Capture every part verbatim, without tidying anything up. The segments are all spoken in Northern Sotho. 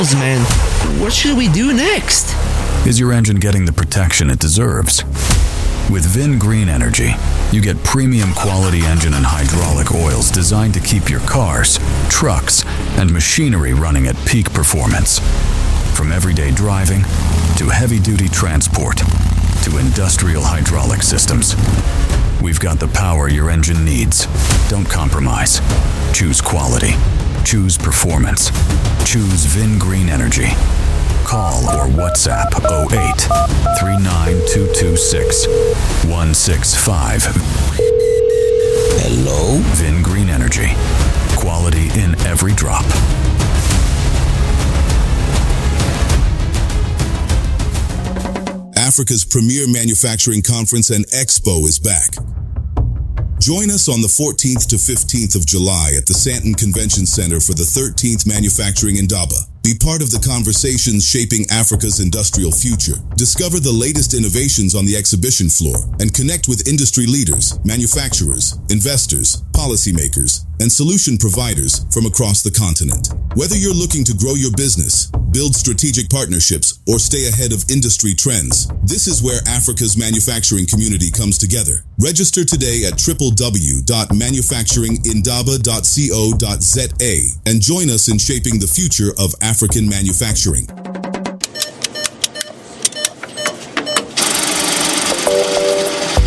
miles, man. What should we do next? Is your engine getting the protection it deserves? With VinGreen Energy, you get premium quality engine and hydraulic oils designed to keep your cars, trucks, and machinery running at peak performance. From everyday driving to heavy duty transport to industrial hydraulic systems. We've got the power your engine needs. Don't compromise. Choose quality. Choose performance. Choose VinGreen Energy. Call or WhatsApp oh eight three nine two two six one six five. Hello? VinGreen Energy. Quality in every drop. Africa's premier manufacturing conference and expo is back. Join us on the fourteenth to fifteenth of July at the Sandton Convention Center for the thirteenth Manufacturing Indaba. Be part of the conversations shaping Africa's industrial future. Discover the latest innovations on the exhibition floor and connect with industry leaders, manufacturers, investors, policymakers, and solution providers from across the continent. Whether you're looking to grow your business, build strategic partnerships, or stay ahead of industry trends, this is where Africa's manufacturing community comes together. Register today at w w w dot manufacturing indaba dot co dot z a and join us in shaping the future of African manufacturing.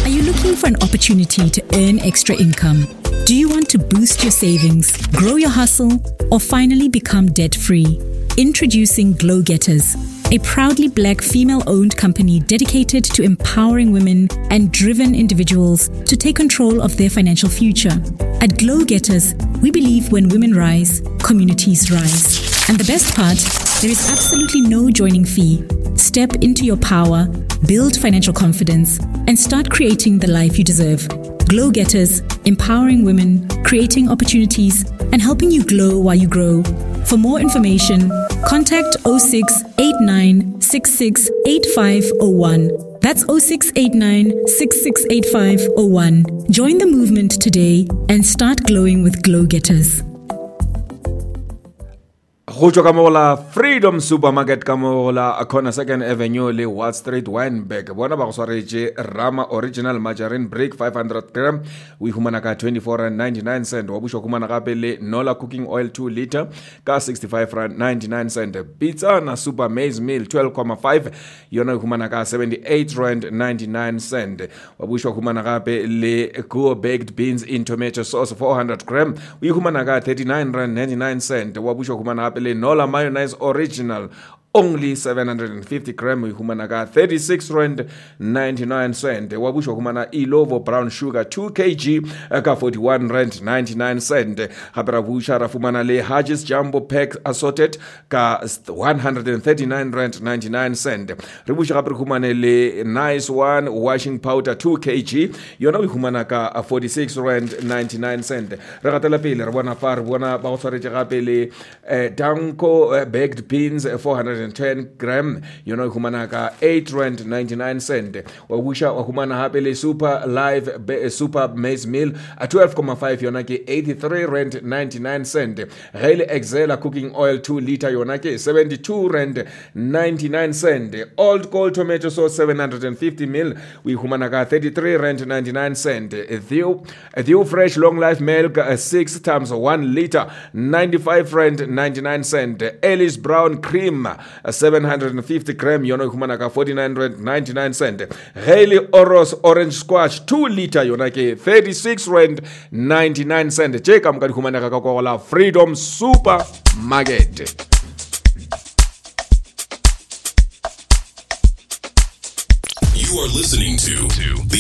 Are you looking for an opportunity to earn extra income? Do you want to boost your savings, grow your hustle, or finally become debt-free? Introducing Glow Getters, a proudly black female-owned company dedicated to empowering women and driven individuals to take control of their financial future. At Glow Getters, we believe when women rise, communities rise. And the best part, there is absolutely no joining fee. Step into your power, build financial confidence, and start creating the life you deserve. Glow Getters, empowering women, creating opportunities, and helping you glow while you grow. For more information, contact oh six eight nine six six eight five oh one. That's oh six eight nine six six eight five oh one. Join the movement today and start glowing with Glow Getters. Go tšwa ka mo go la Freedom Supermarket ka mo go la Corner Second Avenue le Wall Street Wynberg. Bona ba go swaretše Rama Original Margarine Brick five hundred gram, o e humana ka twenty-four rand ninety-nine cent. Wa bušwa humana gape le Nola Cooking Oil two liter ka sixty-five rand ninety-nine cent. Pizza Super Maize Meal twelve comma five yona e humana ka seventy-eight rand ninety-nine cent. Wa bušwa humana gape le Go Baked Beans in Tomato Sauce four hundred gram, o e humana ka thirty-nine rand ninety-nine cent. Wa bušwa humana gape le Nola Mayonnaise Original only seven hundred fifty gram, o e humana ka thirty-six rand ninety-nine cent. Wa bušwa humana Ilovo Brown Sugar two kilograms ka forty-one rand ninety-nine cent. Gape ra buša ra fumana le Huggies Jumbo Pack Assorted ka one hundred thirty-nine rand ninety-nine cent. Re buša gape re humane le Nice One Washing Powder two kilograms, yona o e humana ka forty-six rand ninety-nine cent. Re gatela pele re bona fa re bona ba go tshwaretše gape le eh, Danko eh, Baked Beans four hundred ten gram, yona o humana ka eight rand ninety-nine cent. Wa buša wa humana hape le Super Live be, Super Maize Meal a twelve comma five, yona ke eighty-three rand ninety-nine cent. Ge le Excela Cooking Oil two liter, yona ke seventy-two rand ninety-nine cent. Old Gold Tomato Sauce seven hundred fifty mil, o humana ka thirty-three rand ninety-nine cent. Theo, Theo Fresh Long Life Milk six times one liter, ninety-five rand ninety-nine cent. Ellis Brown Cream seven hundred fifty gram, yona e humana ka forty-nine rand ninety-nine cent. Ge le Oros Orange Squash two liter, yona ke thirty-six rand ninety-nine cent. Tše ka moka di humanega ka kwa go la Freedom Supermarket. You are listening to the